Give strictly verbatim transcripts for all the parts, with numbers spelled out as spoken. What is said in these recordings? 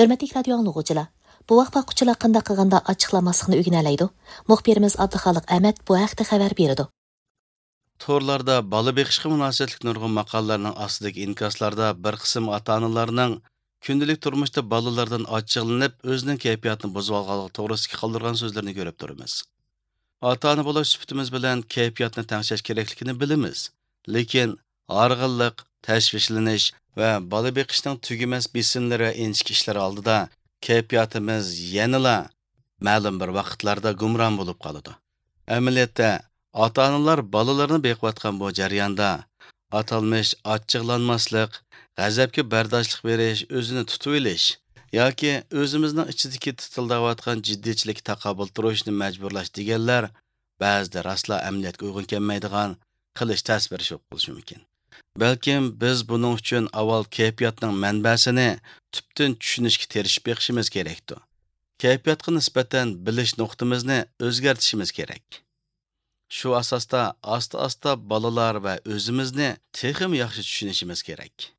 ھۆرمەتلىك رادىيو ئاڭلىغۇچىلار، بوۋاق باققۇچىلار قانداق قىلغاندا ئاچچىقلانماسلىقنى ئۆگىنەلەيدۇ؟ مۇخبىرىمىز ئابدۇخالىق ئەمەت بۇ ھەقتە خەۋەر بېرىدۇ. تورلاردا بالا بېقىشقا مۇناسىۋەتلىك نۇرغۇن ماقالىلەرنىڭ ئاستىدىكى ئىنكاسلاردا بىر قىسىم ئاتا-ئانىلارنىڭ كۈندىلىك تۇرمۇشتا بالىلىرىدىن ئاچچىقلىنىپ، ئۆزىنىڭ كەيپىياتىنى بۇزۇۋالغانلىقى توغرىسىدىكى قالدۇرغان سۆزلىرىنى كۆرۈپ تۇرىمىز. ئاتا-ئانا بولۇش سۈپىتىمىز بىلەن كەيپىياتنى تەڭشەش كېرەكلىكىنى بىلىمىز. لېكىن ھارغىنلىق، تەشۋىشلىنىش ۋە بالا بېقىشنىڭ تۈگىمەس بېسىملىرى ۋە ئىنچىكە ئىشلار ئالدىدا كەيپىياتىمىز يەنىلا مەلۇم بىر ۋاقىتلاردا گۇمران بولۇپ قالىدۇ. ئەمەلىيەتتە، ئاتا-ئانىلار بالىلىرىنى بېقىۋاتقان بۇ جەرياندا ئاتالمىش ئاچچىقلانماسلىق، غەزەپكە بەرداشلىق بېرىش، ئۆزىنى تۇتۇۋېلىش ياكى ئۆزىمىزنىڭ ئىچىدىكى تىتىلداۋاتقان جىددىيچىلىككە تاقابىل تۇرۇشنى مەجبۇرلاش دېگەنلەر بەزىدە راستلا ئەمەلىيەتكە ئۇيغۇن كەلمەيدىغان، قىلىش تەس بىر ئىش بولۇپ قېلىشى مۇمكىن. بەلكىم بىز بۇنىڭ ئۈچۈن ئاۋۋال كەيپىياتنىڭ مەنبەسىنى تۈپتىن چۈشىنىشكە تىرىشىپ بېقىشىمىز كېرەكتۇ. كەيپىياتقا نىسبەتەن بىلىش نۇقتىمىزنى ئۆزگەرتىشىمىز كېرەك. شۇ ئاساستا ئاستا-ئاستا بالىلار ۋە ئۆزىمىزنى تېخىمۇ ياخشى چۈشىنىشىمىز كېرەك.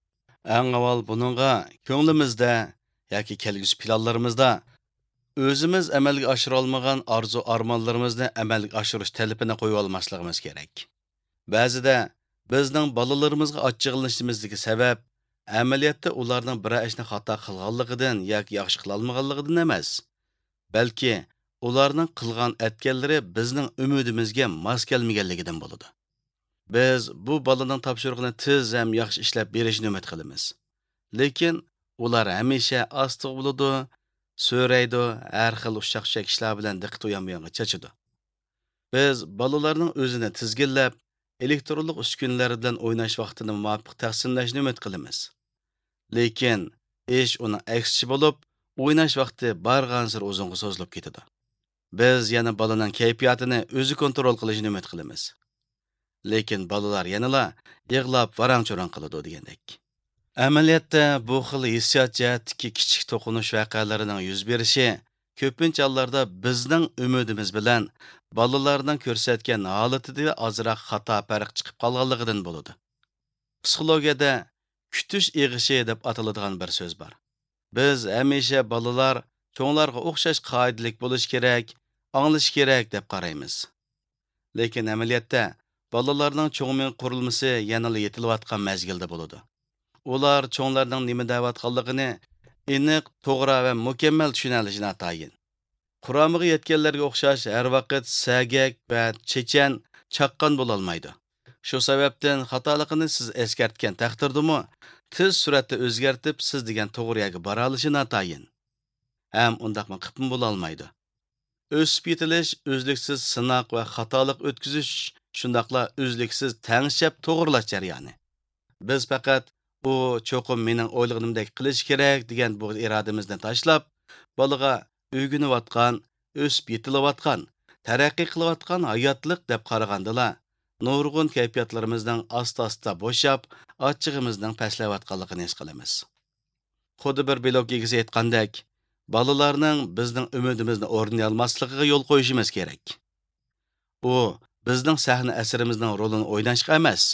ئەڭ ئاۋۋال بۇنىڭغا كۆڭلىمىزدە ياكى كەلگۈسى پىلانلىرىمىزدا ئۆزىمىز ئەمەلگە ئاشۇرالمىغان ئارزۇ-ئارمانلىرىمىزنى ئەمەلگە ئاشۇرۇش تەلىپىنى قويۇۋالماسلىقىمىز كېرەك. بەزىدە بىزنىڭ بالىلىرىمىزغا ئاچچىقلىنىشىمىزدىكى سەۋەب ئەمەلىيەتتە ئۇلارنىڭ بىرەر ئىشنى خاتا قىلغانلىقىدىن ياكى ياخشى قىلالمىغانلىقىدىن ئەمەس، بەلكى ئۇلارنىڭ قىلغان ئەتكەنلىرى بىزنىڭ ئۈمىدىمىزگە ماس كەلمىگەنلىكىدىن بولىدۇ. بىز بۇ بالىنىڭ تاپشۇرۇقىنى تېز ھەم ياخشى ئىشلەپ بېرىشىنى ئۈمىد قىلىمىز. لېكىن ئۇلار ھەمىشە ئاستىغا بولىدۇ، سۆرەيدۇ، ھەر خىل ئۇششاق-چۈششەك ئىشلار بىلەن دىققىتى ئۇيان-بۇيانغا چاچىدۇ. بىز بالىلارنىڭ ئۆزىنى تىزگىنلەپ، ئېلېكترونلۇق ئۈسكۈنىلەر بىلەن ئويناش ۋاقتىنى مۇۋاپىق تەقسىملەشنى ئۈمىد قىلىمىز. لېكىن ئىش ئۇنىڭ ئەكسىچە بولۇپ، ئويناش ۋاقتى بارغانسېرى ئۇزۇنغا سوزۇلۇپ كېتىدۇ. بىز يەنە بالىنىڭ كەيپىياتىنى ئۆزى كونترول قىلىشىنى ئۈمىد قىلىمىز. لېكىن بالىلار يەنىلا يىغلاپ ۋاراڭ-چۇرۇڭ قىلىدۇ دېگەندەك. ئەمەلىيەتتە بۇ خىل ھېسسىيات جەھەتتىكى كىچىك توقۇنۇش ۋەقەلىرىنىڭ يۈز بېرىشى كۆپىنچە ھاللاردا بىزنىڭ ئۈمىدىمىز بىلەن بالىلارنىڭ كۆرسەتكەن ھالىتىدە ئازراق خاتا پەرق چىقىپ قالغانلىقىدىن بولىدۇ. پسىخولوگىيەدە كۈتۈش ئېغىشى دەپ ئاتىلىدىغان بىر سۆز بار. بىز ھەمىشە بالىلار چوڭلارغا ئوخشاش قائىدىلىك بولۇشى كېرەك، ئاڭلىشى كېرەك دەپ قارايمىز. لېكىن ئەمەلىيەتتە بالىلارنىڭ چوڭ مېڭە قۇرۇلمىسى يەنىلا يېتىلىۋاتقان مەزگىلدە بولىدۇ. ئۇلار چوڭلارنىڭ نېمە دەۋاتقانلىقىنى ئېنىق، توغرا ۋە مۇكەممەل چۈشىنەلىشى ناتايىن. قۇرامىغا يەتكەنلەرگە ئوخشاش ھەر ۋاقىت سەگەك ۋە چېچەن، چاققان بولالمايدۇ. شۇ سەۋەبتىن خاتالىقىنى سىز ئەسكەرتكەن تەقدىردىمۇ، تېز سۈرئەتتە ئۆزگەرتىپ، سىز دېگەن توغرا يەرگە بارالىشى ناتايىن. ھەم ئۇنداقمۇ قىپمۇ بولالمايدۇ. ئۆسۈپ يېتىلىش ئۈزلۈكسىز سىناق ۋە خاتالىق ئۆتكۈزۈش، شۇنداقلا ئۈزلۈكسىز تەڭشەپ توغرىلاش جەريانى. بىز پەقەت «ئۇ چوقۇم مېنىڭ ئويلىغىنىمدەك قىلىشى كېرەك» دېگەن بۇ ئىرادىمىزنى تاشلاپ، بالىغا ئۆگىنىۋاتقان، ئۆسۈپ يېتىلىۋاتقان، تەرەققىي قىلىۋاتقان ھاياتلىق دەپ قارىغاندىلا، نۇرغۇن كەيپىياتلىرىمىزنىڭ ئاستا-ئاستا بوشاپ، ئاچچىقىمىزنىڭ پەسلەۋاتقانلىقىنى ھېس قىلىمىز. خۇددى بىر بىلوگ ئىگىسى ئېيتقاندەك، بالىلارنىڭ بىزنىڭ ئۈمىدىمىزنى ئورنىيالماسلىقىغا يول قويۇشىمىز كېرەك. ئۇ بىزنىڭ سەھنە ئەسىرىمىزنىڭ رولىنى ئويناشقا ئەمەس،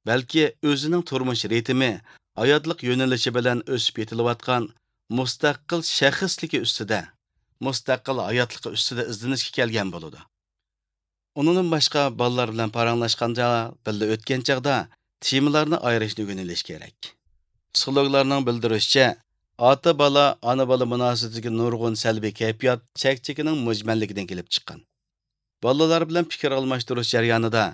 بەلكى ئۆزىنىڭ تۇرمۇش رىتىمى، ھاياتلىق يۆنىلىشى بىلەن ئۆسۈپ يېتىلىۋاتقان مۇستەقىل شەخسلىكى ئۈستىدە، مۇستەقىل ھاياتلىقى ئۈستىدە ئىزدىنىشكە كەلگەن بولىدۇ. ئۇنىڭدىن باشقا، بالىلار بىلەن پاراڭلاشقاندا، بىللە ئۆتكەن چاغدا تېمىلارنى ئايرىشنى ئۆگىنىۋېلىش كېرەك. پسىخولوگلارنىڭ بىلدۈرۈشىچە، ئاتا-بالا، ئانا-بالا مۇناسىۋىتىدىكى نۇرغۇن سەلبىي كەيپىيات چەكچىكىنىڭ مۈجمەللىكىدىن كېلىپ چىققان. بالىلار بىلەن پىكىر ئالماشتۇرۇش جەريانىدا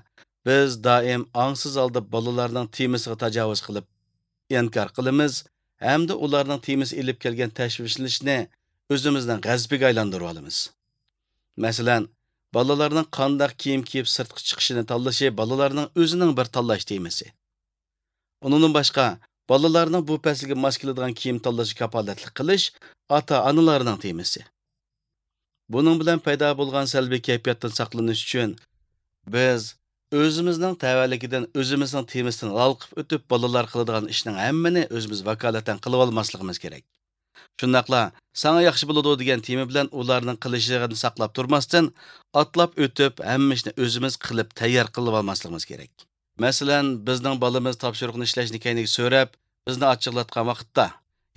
بىز دائىم ئاڭسىز ھالدا بالىلارنىڭ تېمىسىغا تاجاۋۇز قىلىپ، ئىنكار قىلىمىز ھەمدە ئۇلارنىڭ تېمىسى ئېلىپ كەلگەن تەشۋىشلىنىشنى ئۆزىمىزنىڭ غەزىپىگە ئايلاندۇرۇۋالىمىز. مەسىلەن، بالىلارنىڭ قانداق كىيىم كىيىپ سىرتقا چىقىشىنى تاللىشى بالىلارنىڭ ئۆزىنىڭ بىر تاللاش تېمىسى. ئۇنىڭدىن باشقا، بالىلارنىڭ بۇ پەسىلگە ماس كېلىدىغان كىيىم تاللىشىغا كاپالەتلىك قىلىش ئاتا-ئانىلارنىڭ تېمىسى. بۇنىڭ بىلەن پەيدا بولغان سەلبىي كەيپىياتتىن ساقلىنىش ئۈچۈن، بىز ئۆزىمىزنىڭ تەۋەلىكىدىن، ئۆزىمىزنىڭ تېمىسىدىن ھالقىپ ئۆتۈپ، بالىلار قىلىدىغان ئىشنىڭ ھەممىنى ئۆزىمىز ۋاكالىتەن قىلىۋالماسلىقىمىز كېرەك. شۇنداقلا «ساڭا ياخشى بولىدۇ» دېگەن تېما بىلەن ئۇلارنىڭ قىلىشىنى ساقلاپ تۇرماستىن، ئاتلاپ ئۆتۈپ، ھەممە ئىشنى ئۆزىمىز قىلىپ تەييار قىلىۋالماسلىقىمىز كېرەك. مەسىلەن، بىزنىڭ بالىمىز تاپشۇرۇقنى ئىشلەشنى كەينىگە سۆرەپ، بىزنى ئاچچىقلاتقان ۋاقىتتا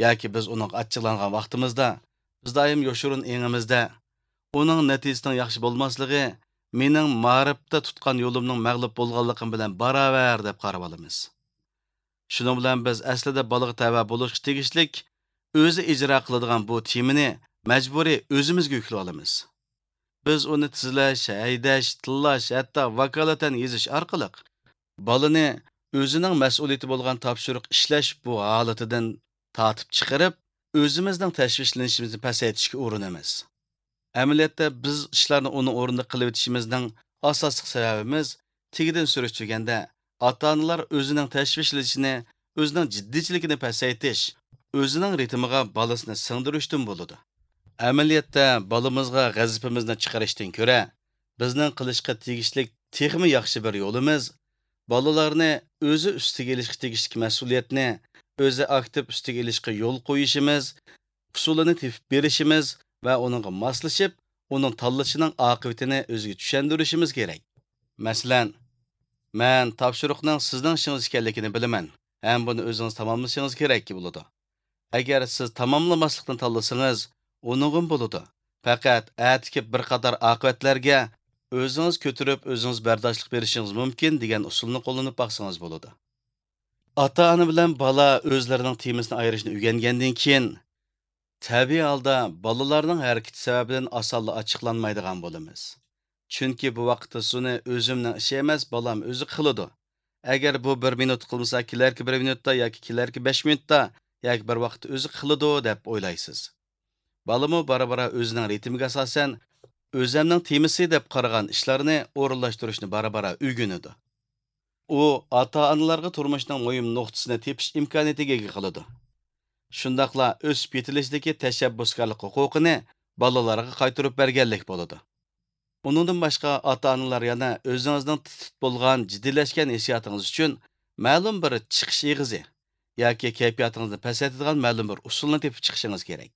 ياكى بىز ئۇنىڭغا ئاچچىقلانغان ۋاقتىمىزدا، بىز دائىم يوشۇرۇن ئېڭىمىزدە، ئۇنىڭ نەتىجىسىنىڭ ياخشى بولماسلىقى مېنىڭ مائارىپتا تۇتقان يولۇمنىڭ مەغلۇپ بولغانلىقىم بىلەن باراۋەر دەپ قاراۋالىمىز. شۇنىڭ بىلەن بىز ئەسلىدە بالىغا تەۋە بولۇشقا تېگىشلىك ئۆزى ئىجرا قىلىدىغان بۇ تېمىنى مەجبۇرىي ئۆزىمىزگە يۈكلىۋالىمىز. بىز ئۇنى تىزىلەش، ھەيدەش، تىللاش، ھەتتا ۋاكالىتەن يېزىش ئارقىلىق بالىنى ئۆزىنىڭ مەسئۇلىيىتى بولغان تاپشۇرۇق ئىشلەش بۇ ھالىتىدىن تارتىپ چىقىرىپ، ئۆزىمىزنىڭ تەشۋىشلىنىشىمىزنى پەسەيتىشكە ئۇرۇنىمىز. ئەمەلىيەتتە، بىز ئىشلارنى ئۇنىڭ ئورنىدا قىلىۋېتىشىمىزنىڭ ئاساسلىق سەۋەبىمىز، تېگىدىن سۈرۈشتۈرگەندە، ئاتا-ئانىلار ئۆزىنىڭ تەشۋىشلىنىشىنى، ئۆزىنىڭ جىددىيچىلىكىنى پەسەيتىش، ئۆزىنىڭ رىتىمىغا بالىسىنى سىڭدۈرۈشتىن بولىدۇ. ئەمەلىيەتتە، بالىمىزغا غەزىپىمىزنى چىقىرىشتىن كۆرە، بىزنىڭ قىلىشقا تېگىشلىك تېخىمۇ ياخشى بىر يولىمىز، بالىلارنى ئۆزى ئۈستىگە ئېلىشقا تېگىشلىك مەسئۇلىيەتنى ئۆزى ئاكتىپ ئۈستىگە ئېلىشقا يول قويۇشىمىز، ئۇسۇلىنى تېپىپ بېرىشىمىز ۋە ئۇنىڭغا ماسلىشىپ، ئۇنىڭ تاللىشىنىڭ ئاقىۋىتىنى ئۆزىگە چۈشەندۈرۈشىمىز كېرەك. مەسىلەن، مەن تاپشۇرۇقنىڭ سىزنىڭ ئىشىڭىز ئىكەنلىكىنى بىلىمەن ھەم بۇنى ئۆزىڭىز تاماملىشىڭىز كېرەك بولىدۇ. ئەگەر سىز تاماملىماسلىقنى تاللىسىڭىز، ئۇنىڭغىمۇ بولىدۇ. پەقەت ئەتىكى بىر قاتار ئاقىۋەتلەرگە ئۆزىڭىز كۆتۈرۈپ، ئۆزىڭىز بەرداشلىق بېرىشىڭىز مۇمكىن دېگەن ئۇسۇلنى قوللىنىپ باقسىڭىز بولىدۇ. ئاتا-ئانا بىلەن بالا ئۆزلىرىنىڭ تېمىسىنى ئايرىشنى ئۆگەنگەندىن كېيىن، تەبىئىي ھالدا بالىلارنىڭ ھەرىكىتى سەۋەبىدىن ئاسانلا ئاچچىقلانمايدىغان بولىمىز. چۈنكى بۇ ۋاقىتتا سۇنى ئۆزۈمنىڭ ئىشى ئەمەس، بالام ئۆزى قىلىدۇ. ئەگەر بۇ بىر مىنۇت قىلمىسا، كېلەركى بىر مىنۇتتا ياكى كېلەركى بەش مىنۇتتا ياكى بىر ۋاقىتتا ئۆزى قىلىدۇ دەپ ئويلايسىز. بالىمۇ بارا-بارا ئۆزىنىڭ رىتىمىگە ئاساسەن ئۆزەمنىڭ تېمىسى دەپ قارىغان ئىشلارنى ئورۇنلاشتۇرۇشنى بارا-بارا ئۆگىنىدۇ. ئۇ ئاتا-ئانىلارغا تۇرمۇشنىڭ مۇھىم نۇقتىسىنى تېپىش ئىمكانىيىتىگە ئىگە قىلىدۇ. شۇنداقلا ئۆسۈپ يېتىلىشىدىكى تەشەببۇسكارلىق ھوقۇقىنى بالىلارغا قايتۇرۇپ بەرگەنلىك بولىدۇ. ئۇنىڭدىن باشقا، ئاتا-ئانىلار يەنە ئۆزىڭىزنىڭ تىت-تىت بولغان، جىددىيلەشكەن ھېسسىياتىڭىز ئۈچۈن مەلۇم بىر چىقىش ئېغىزى ياكى كەيپىياتىڭىزنى پەسەيتىدىغان مەلۇم بىر ئۇسۇلنى تېپىپ چىقىشىڭىز كېرەك.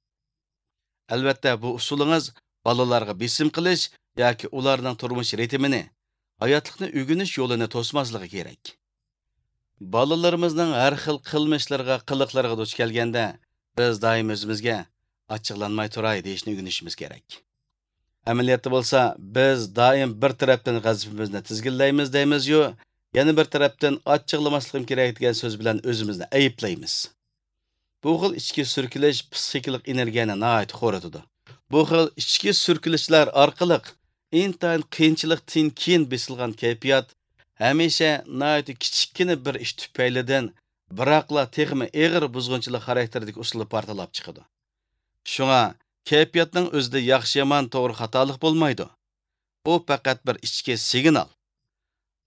ئەلۋەتتە، بۇ ئۇسۇلىڭىز بالىلارغا بېسىم قىلىش ياكى ئۇلارنىڭ تۇرمۇش رىتىمىنى، ھاياتلىقنى ئۆگىنىش يولىنى توسماسلىقى كېرەك. بالىلىرىمىزنىڭ ھەر خىل قىلمىشلىرىغا، قىلىقلىرىغا دۇچ كەلگەندە، بىز دائىم ئۆزىمىزگە «ئاچچىقلانماي تۇراي» دېيىشنى ئۆگىنىشىمىز كېرەك. ئەمەلىيەتتە بولسا، بىز دائىم بىر تەرەپتىن غەزىپىمىزنى تىزگىنلەيمىز دەيمىزيۇ، يەنە بىر تەرەپتىن «ئاچچىقلىماسلىقىم كېرەك» دېگەن سۆز بىلەن ئۆزىمىزنى ئەيىبلەيمىز. بۇ خىل ئىچكى سۈركىلىش پسىخىكىلىق ئېنېرگىيەنى ناھايىتى خورىتىدۇ. بۇ خىل ئىچكى سۈركىلىشلەر ئارقىلىق ئىنتايىن قىيىنچىلىقتىن كېيىن بېسىلغان كەيپىيات ھەمىشە ناھايىتى كىچىككىنە بىر ئىش تۈپەيلىدىن، بىراقلا تېخىمۇ ئېغىر بۇزغۇنچىلىق خاراكتېرىدىكى ئۇسۇلدا پارتلاپ چىقىدۇ. شۇڭا كەيپىياتنىڭ ئۆزىدە ياخشى-يامان، توغرا-خاتالىق بولمايدۇ. ئۇ پەقەت بىر ئىچكى سىگنال.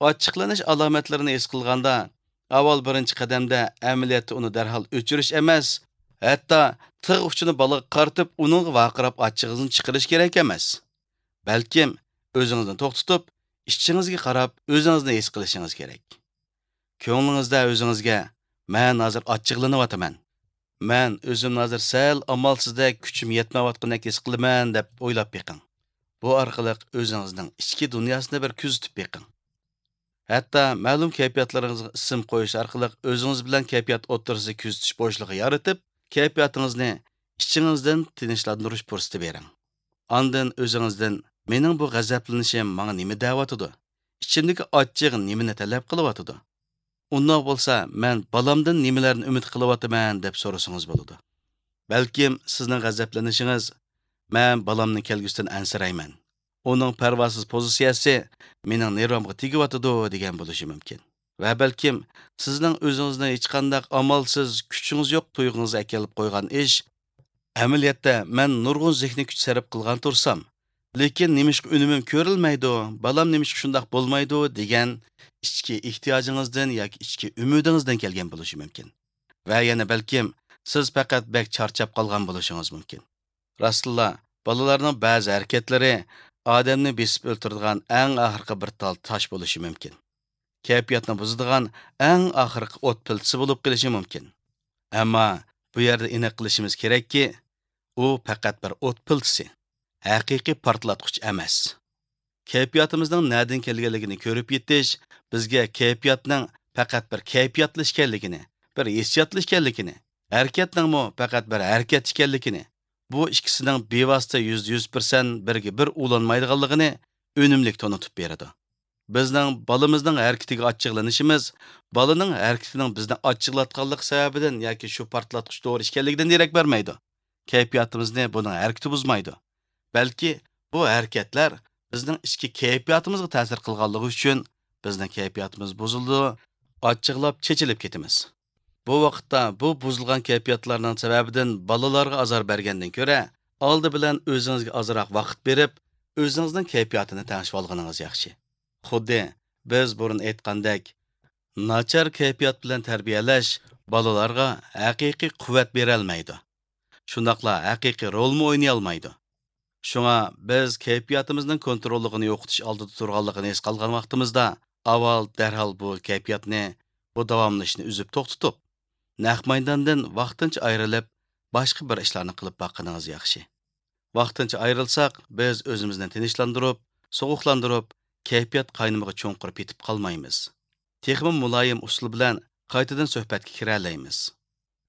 ئاچچىقلىنىش ئالامەتلىرىنى ھېس قىلغاندا، ئاۋۋال بىرىنچى قەدەمدە ئەمەلىيەتتە ئۇنى دەرھال ئۆچۈرۈش ئەمەس، ھەتتا تىغ ئۇچىنى بالىغا قارىتىپ، ئۇنىڭغا ۋارقىراپ ئاچچىقىڭىزنى چىقىرىش كېرەك ئەمەس. بەلكىم ئۆزىڭىزنى توختىتىپ، ئىچىڭىزگە قاراپ ئۆزىڭىزنى ھېس قىلىشىڭىز كېرەك. كۆڭلىڭىزدە ئۆزىڭىزگە، «مەن ھازىر ئاچچىقلىنىۋاتىمەن. مەن ئۆزۈمنى ھازىر سەل ئامالسىزدەك، كۈچۈم يەتمەيۋاتقاندەك ھېس قىلىمەن» دەپ ئويلاپ بېقىڭ. بۇ ئارقىلىق ئۆزىڭىزنىڭ ئىچكى دۇنياسىنى بىر كۆزىتىپ بېقىڭ. ھەتتا مەلۇم كەيپىياتلىرىڭىزغا ئىسىم قويۇش ئارقىلىق ئۆزىڭىز بىلەن كەيپىيات ئوتتۇرىسىدا كۆزىتىش بوشلۇقى يارىتىپ، كەيپىياتىڭىزنى ئىچىڭىزدىن تىنچلاندۇرۇش پۇرسىتى بېرىڭ. ئاندىن ئۆزىڭىزدىن، «مېنىڭ بۇ غەزەپلىنىشىم ماڭا نېمە دەۋاتىدۇ؟ ئىچىمدىكى ئاچچىق نېمىنى تەلەپ قىلىۋاتىدۇ؟ ئۇنداق بولسا، مەن بالامدىن نېمىلەرنى ئۈمىد قىلىۋاتىمەن؟» دەپ سورىسىڭىز بولىدۇ. بەلكىم سىزنىڭ غەزەپلىنىشىڭىز، «مەن بالامنىڭ كەلگۈسىدىن ئەنسىرەيمەن. ئۇنىڭ پەرۋاسىز پوزىتسىيەسى مېنىڭ نېرۋامغا تېگىۋاتىدۇ» دېگەن بولۇشى مۇمكىن. ۋە بەلكىم سىزنىڭ ئۆزىڭىزنى ھېچقانداق ئامالسىز، كۈچىڭىز يوق تۇيغۇڭىزغا ئەكېلىپ قويغان ئىش، ئەمەلىيەتتە مەن نۇرغۇن زېھنىي كۈچ سەرپ قىلغان تۇرسام، لېكىن نېمىشقا ئۈنۈمۈم كۆرۈلمەيدۇ، بالام نېمىشقا شۇنداق بولمايدۇ دېگەن ئىچكى ئېھتىياجىڭىزدىن ياكى ئىچكى ئۈمىدىڭىزدىن كەلگەن بولۇشى مۇمكىن. ۋە يەنە بەلكىم سىز پەقەت بەك چارچاپ قالغان بولۇشىڭىز مۇمكىن. راستتىنلا، بالىلارنىڭ بەزى ھەرىكەتلىرى ئادەمنى بېسىپ ئۆلتۈرىدىغان ئەڭ ئاخىرقى بىر تال تاش بولۇشى مۇمكىن. كەيپىياتنى بۇزىدىغان ئەڭ ئاخىرقى ئوت پىلتىسى بولۇپ قېلىشى مۇمكىن. ئەمما بۇ يەردە ئېنىق قىلىشىمىز كېرەككى، ئۇ پەقەت بىر ئوت پىلتىسى، ھەقىقىي پارتلاتقۇچ ئەمەس. كەيپىياتىمىزنىڭ نەدىن كەلگەنلىكىنى كۆرۈپ يېتىش بىزگە كەيپىياتنىڭ پەقەت بىر كەيپىياتلا ئىكەنلىكىنى، بىر ھېسسىياتلا ئىكەنلىكىنى، ھەرىكەتنىڭمۇ پەقەت بىر ھەرىكەت ئىكەنلىكىنى، بۇ ئىككىسىنىڭ بىۋاسىتە يۈزدە يۈز پىرسەنت بىرگە بىر ئۇلانمايدىغانلىقىنى ئۈنۈملۈك تونۇتۇپ بېرىدۇ. بىزنىڭ بالىمىزنىڭ ھەرىكىتىگە ئاچچىقلىنىشىمىز بالىنىڭ ھەرىكىتىنىڭ بىزنى ئاچچىقلاتقانلىقى سەۋەبىدىن ياكى شۇ پارتلاتقۇچ دورا ئىكەنلىكىدىن دېرەك بەرمەيدۇ. كەيپىياتىمىزنى بۇنىڭ ھەرىكىتى بۇزمايدۇ. بەلكى بۇ ھەرىكەتلەر بىزنىڭ ئىچكى كەيپىياتىمىزغا تەسىر قىلغانلىقى ئۈچۈن بىزنىڭ كەيپىياتىمىز بۇزۇلىدۇ، ئاچچىقلاپ چېچىلىپ كېتىمىز. بۇ ۋاقىتتا بۇ بۇزۇلغان كەيپىياتلارنىڭ سەۋەبىدىن بالىلارغا ئازار بەرگەندىن كۆرە، ئالدى بىلەن ئۆزىڭىزگە ئازراق ۋاقىت بېرىپ، ئۆزىڭىزنىڭ كەيپىياتىنى تەڭشىۋالغىنىڭىز ياخشى. خۇددى بىز بۇرۇن ئېيتقاندەك، ناچار كەيپىيات بىلەن تەربىيەلەش بالىلارغا ھەقىقىي قۇۋۋەت بېرەلمەيدۇ. شۇنداقلا ھەقىقىي رولمۇ ئوينىيالمايدۇ. شۇڭا بىز كەيپىياتىمىزنىڭ كونتروللۇقىنى يوقىتىش ئالدىدا تۇرغانلىقىنى ھېس قىلغان ۋاقتىمىزدا، ئاۋۋال دەرھال بۇ كەيپىياتنى، بۇ داۋاملىنىشنى ئۈزۈپ توختىتىپ، نەق مەيداندىن ۋاقتىنچە ئايرىلىپ، باشقا بىر ئىشلارنى قىلىپ باققىنىڭىز ياخشى. ۋاقتىنچە ئايرىلساق، بىز ئۆزىمىزنى تىنچلاندۇرۇپ، سوغۇقلاندۇرۇپ، كەيپىيات قاينىمىغا چوڭقۇر پېتىپ قالمايمىز. تېخىمۇ مۇلايىم ئۇسۇل بىلەن قايتىدىن سۆھبەتكە كىرەلەيمىز.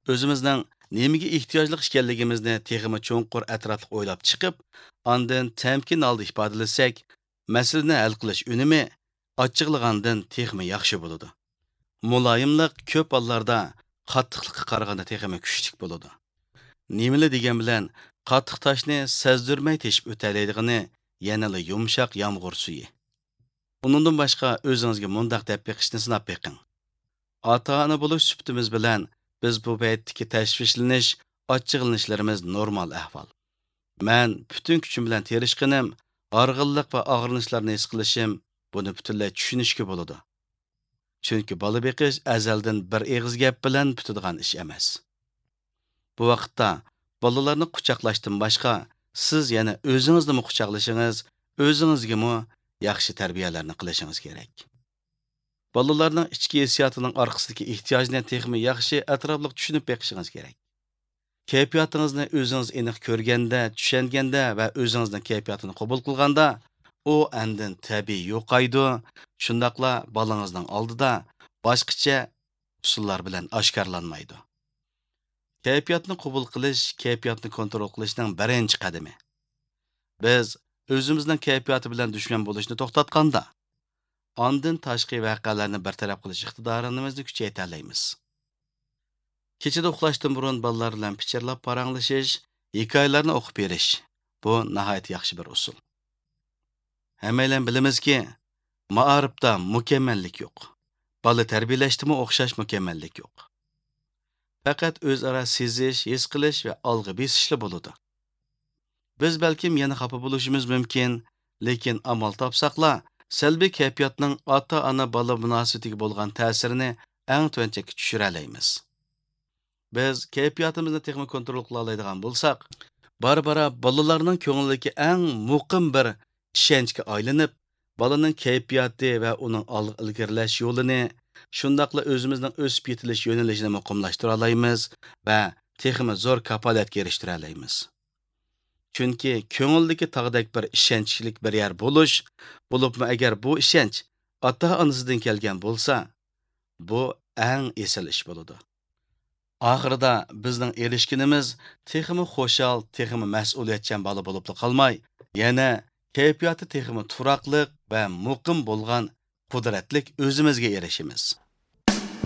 ئۆزىمىزنىڭ نېمىگە ئېھتىياجلىق ئىكەنلىكىمىزنى تېخىمۇ چوڭقۇر ئەتراپلىق ئويلاپ چىقىپ، ئاندىن تەمكىن ھالدا ئىپادىلىسەك، مەسىلىنى ھەل قىلىش ئۈنۈمى ئاچچىقلىغاندىن تېخىمۇ ياخشى بولىدۇ. مۇلايىملىق كۆپ ھاللاردا قاتتىقلىققا قارىغاندا تېخىمۇ كۈچلۈك بولىدۇ. نېمىلا دېگەن بىلەن قاتتىق تاشنى سەزدۈرمەي تېشىپ ئۆتەلەيدىغىنى يەنىلا يۇمشاق يامغۇر سۈيى. ئۇنىڭدىن باشقا ئۆزىڭىزگە مۇنداق دەپ بېقىشنى سىناپ بېقىڭ. ئاتا-ئانا بولۇش سۈپىتىمىز بىلەن بىز بۇ پەيتتىكى تەشۋىشلىنىش، ئاچچىقلىنىشلىرىمىز نورمال ئەھۋال. مەن پۈتۈن كۈچۈم بىلەن تىرىشقىنىم، ھارغىنلىق ۋە ئاغرىنىشلارنى ھېس قىلىشىم، بۇنى پۈتۈنلەي چۈشىنىشكە بولىدۇ. چۈنكى بالا بېقىش ئەزەلدىن بىر ئېغىز گەپ بىلەن پۈتىدىغان ئىش ئەمەس. بۇ ۋاقىتتا بالىلارنى قۇچاقلاشتىن باشقا، سىز يەنە ئۆزىڭىزنىمۇ قۇچاقلىشىڭىز، ئۆزىڭىزگىمۇ ياخشى تەربىيەلەرنى قىلىشىڭىز كېرەك. بالىلارنىڭ ئىچكى ھېسسىياتىنىڭ ئارقىسىدىكى ئېھتىياجنى تېخىمۇ ياخشى ئەتراپلىق چۈشىنىپ بېقىشىڭىز كېرەك. كەيپىياتىڭىزنى ئۆزىڭىز ئېنىق كۆرگەندە، چۈشەنگەندە ۋە ئۆزىڭىزنىڭ كەيپىياتىنى قوبۇل قىلغاندا، ئۇ ئاندىن تەبىئىي يوقايدۇ، شۇنداقلا بالىڭىزنىڭ ئالدىدا باشقىچە ئۇسۇللار بىلەن ئاشكارىلانمايدۇ. كەيپىياتنى قوبۇل قىلىش كەيپىياتنى كونترول قىلىشنىڭ بىرىنچى قەدىمى. بىز ئۆزىمىزنىڭ كەيپىياتى بىلەن دۈشمەن بولۇشنى توختاتقاندا، ئاندىن تاشقى ۋەقەلەرنى بىر تەرەپ قىلىش ئىقتىدارىمىزنى كۈچەيتەلەيمىز. كېچىدە ئۇخلاشتىن بۇرۇن بالىلار بىلەن پىچىرلاپ پاراڭلىشىش، ھېكايىلەرنى ئوقۇپ بېرىش، بۇ ناھايىتى ياخشى بىر ئۇسۇل. ھەممەيلەن بىلىمىزكى، مائارىپتا مۇكەممەللىك يوق. بالا تەربىيەلەشتىمۇ ئوخشاش مۇكەممەللىك يوق. پەقەت ئۆزئارا سېزىش، ھېس قىلىش ۋە ئالغا بېسىشلا بولىدۇ. بىز بەلكىم يەنە خاپا بولۇشىمىز مۇمكىن، لېكىن ئامال تاپساقلا، سەلبىي كەيپىياتنىڭ ئاتا-ئانا بالا مۇناسىۋىتىگە بولغان تەسىرىنى ئەڭ تۆۋەن چەككە چۈشۈرەلەيمىز. بىز كەيپىياتىمىزنى تېخىمۇ كونترول قىلالايدىغان بولساق، بارا-بارا بالىلارنىڭ كۆڭلىدىكى ئەڭ مۇقىم بىر ئىشەنچكە ئايلىنىپ، بالىنىڭ كەيپىياتى ۋە ئۇنىڭ ئالغا ئىلگىرىلەش يولىنى، شۇنداقلا ئۆزىمىزنىڭ ئۆسۈپ يېتىلىش يۆنىلىشىنى مۇقىملاشتۇرالايمىز ۋە تېخىمۇ زور كاپالەتكە ئېرىشتۈرەلەيمىز. چۈنكى كۆڭۈلدىكى تاغدەك بىر ئىشەنچلىك بىر يەر بولۇش، بولۇپمۇ ئەگەر بۇ ئىشەنچ ئاتا-ئانىسىدىن كەلگەن بولسا، بۇ ئەڭ ئېسىل ئىش بولىدۇ. ئاخىرىدا بىزنىڭ ئېرىشكىنىمىز تېخىمۇ خۇشال، تېخىمۇ مەسئۇلىيەتچان بالا بولۇپلا قالماي، يەنە كەيپىياتى تېخىمۇ تۇراقلىق ۋە مۇقىم بولغان قۇدرەتلىك ئۆزىمىزگە ئېرىشىمىز.